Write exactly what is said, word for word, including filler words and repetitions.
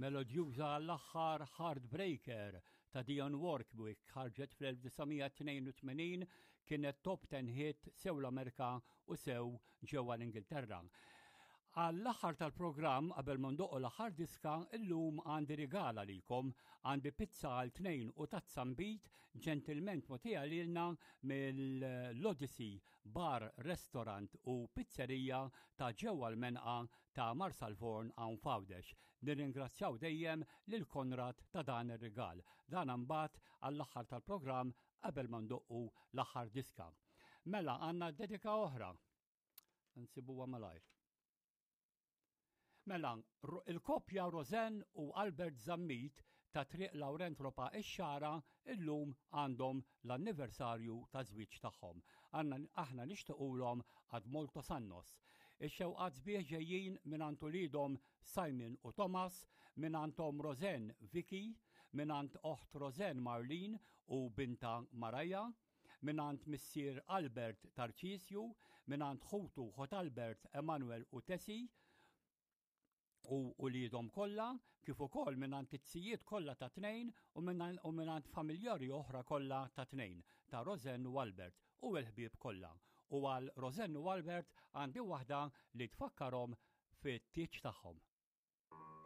Melodjuża l-aħħar Heartbreaker ta' Dionne Warwick ħarġet fl-elf disa' mija tnejn u tmenin, kienet top ten hit sew l-Amerika u sew ġewwa l-Ingilterra. Għall-aħħar tal-programm, qabel ma ndoqqu l-aħħar diska, illum għandi rigal għalikom. Għandi pizza għal tnejn u tazza nbid ġentilment mogħtija lilna mill-Odyssey Bar, Restaurant u Pizzerija ta' ġewwa l-Menqa ta' Marsalforn hawn f'Għawdex. Nirringrazzjaw dejjem lil Konrad ta' dan ir-rigal. Dan imbagħad għall-aħħar tal-programm qabel ma ndoqqu l-aħħar diska. Mela għandna dedika oħra. Nsibuha malajr. Mela, ro-, il-koppja Rosen u Albert Zammit ta' Triq Laurent Ropa ix-Xagħra illum għandhom l-anniversarju ta' żwieġ tagħhom. Għanna, aħna nixtiequlhom ad moltos annos. Ix-xewqat sbieħ ġejjin mingħand uliedhom Simon u Thomas, mingħand Tom Rosen Vicky, mingħand oħt Rosen Marlene u binta Maraja, mingħand missier Albert Tarcisju, mingħand ħutu ħot Albert Emanuel u Tessie, u uliedhom kollha, kif ukoll mingħand it-tzijiet kollha ta' tnejn u mingħand, u mingħand familjari oħra kollha ta' tnejn, ta' Rosen u Albert u l-ħbieb kollha. U għal Rosen u Albert għandi waħda li tfakkarhom fit-tieġ tagħhom.